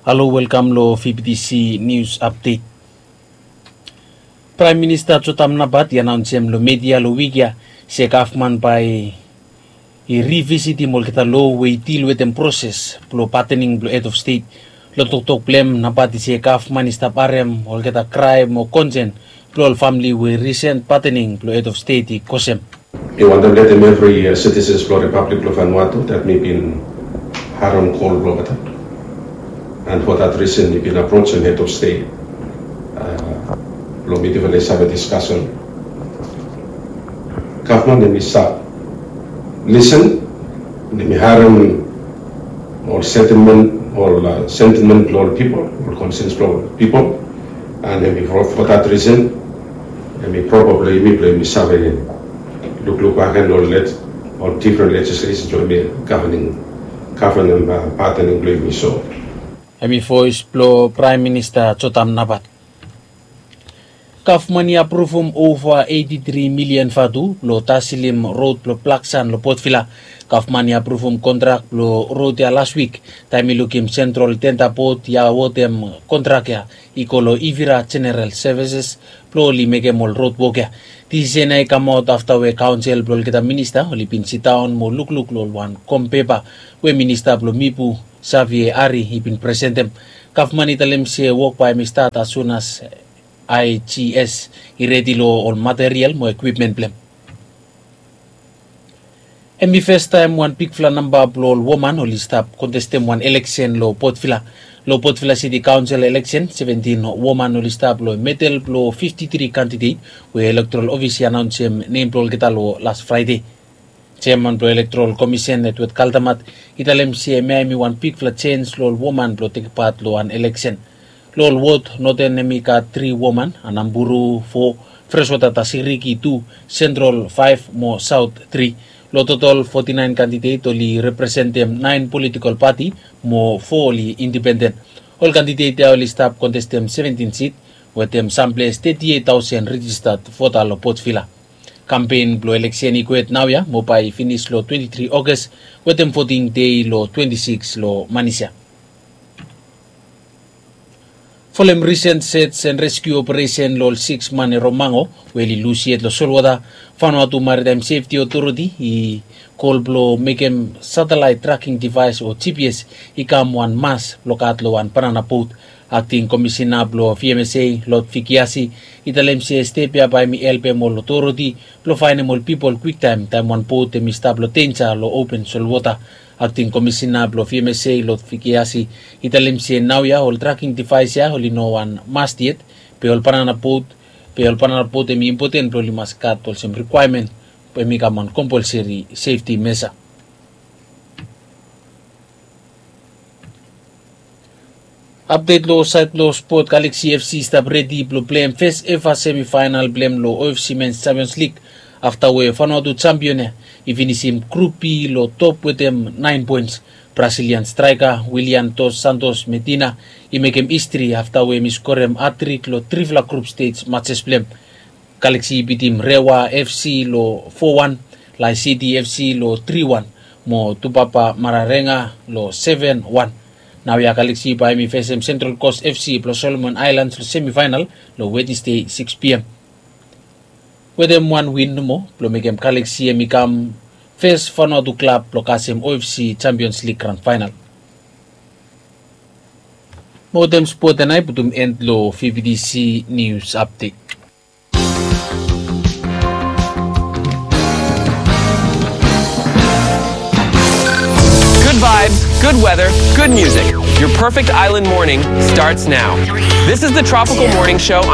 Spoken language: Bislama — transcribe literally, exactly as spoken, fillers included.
Halo, welkam lo V B T C News Update. Praem Minista Jotam Napat i anaonsem lo media lo wik ya se gavman bae i rivisitim olgeta lo we i dil wetem proses blo patening blo hed of stet. Lo toktok blo hem, Napat i se gavman i stap harem olgeta kraem o konsen blo ol famle we risen patening blo hed of stet i kosem. Mi wantem letem evri sitisen blo Ripablik blo Vanuatu dat mi bin harem kol blo olgeta. And for that reason mi bin aprojem hed of stet blo mi definitively save diskasen. Gavman hemi stap lisen, hemi harem ol sentimen, ol sentimen blo ol pipol, ol konsens blo ol pipol. And hemi for that reason hemi propa blo yumi blo yumi save lukluk bakegen ol difren lejislesen blo yumi gavanem, gavanem patening blo yumi. So hemi voes blo Praem Minista Jotam Napat. Gavman i apruvum ova eiti tri milian vatu blo taselim rod blo Blaksan lo Potvila. Gavman i apruvum kontrak blo rod ya las wik taem i lukim Sentral Tenda Bod i awotem kontrak ya i go lo Ivira Jeneral Sevises blo oli mekem ol rod wok ya. Disisen ya i kamaot afta we kaonsel blo olgeta minista oli bin sidaon mo lukluk lo ol wan kom pepa we minista blo Mipu, Savie Ari, i bin presentem. Gavman i talem se wok bae hemi stat as sun as I G S i redi lo ol material mo ekwipmen blo hem. Hemi fastaem wan bigfala namba blo ol woman oli stap kontestem wan eleksen lo Potvila. Lo Potvila Siti Kaonsel eleksen, seventin woman oli stap lo medel blo fifti tri kandidet we Elektoral Ofis i anaonsem nem blo olgeta lo las Fraede. Jeaman blo Elektoral Komisen, Edward Kaldamat, i talem se hemia hemi wan bigfala jens lo ol woman blo tekem pat lo wan eleksen. Lo ol wod, Noten hemi gat tri woman, Anamburu fo, Freswata Tasiriki tu, Sentral faef mo Saot tri. Lo totol foti naen kandidet oli representem naen politikol pati mo fo oli indipenden. Ol kandidet ya oli stap kontestem seventin sit wetem samples teti eit taosen rejistat vota lo Potvila. Kampen blo eleksen i kwet naoia mo bae i finis lo twenti tri Oges wetem voting dei lo twenti sikis lo manis ya. Folem risen search and rescue operation lo ol sikis man e Romango we oli lus yet lo solwota, Vanuatu Maritime Safety Authority i kol blo mekem satellite tracking device o G P S i kam wan mas blo gat lo wan banana bot. Akting Komisina blo V M S A, Lord Vikiasi, i talem se step ya bae hemi helpem ol otoriti blo faenem ol pipol kwiktaem taem wan bot hemi stap lo denja lo open solwota. Akting Komisina blo V M S A, Lord Vikiasi, i talem se naoia ol tracking device ya oli no wan must yet, be ol banana bot, be ol banana bot hemi impoten blo oli mas gat olsem rikwaemen, be hemi kam wan kompolseri sefti mesa. Apdet lo saed blo spot, Galaxy F C i stap redi blo pleim fes eva semifaenal blo hem lo O F C Men's Champions League afta we Vanuatu jampion ya i finisim Grup B lo top wetem naen poens. Brazilian straeka Willian Dos Santos Medina i mekem histri afta we hemi skorem hatrik lo trifala grup stej majes blo hem. Galaxy i bitim Rewa F C lo fo wan, Lae City F C lo tri wan, mo Tupapa Mararenga lo seven wan. Naoia Galaxy bae hemi fesem Central Coast F C blo Solomon Islands lo semifaenal lo Wednesday sikis P M. Wetem wan win nomo blo mekem Galaxy hemi kam fes Vanuatu klab blo kasem O F C Champions League grand final. Mo wetem spot ya nao i putum end lo V B T C News Update. Good vibes, good weather, good music. Your perfect island morning starts now. This is the Tropical Morning Show on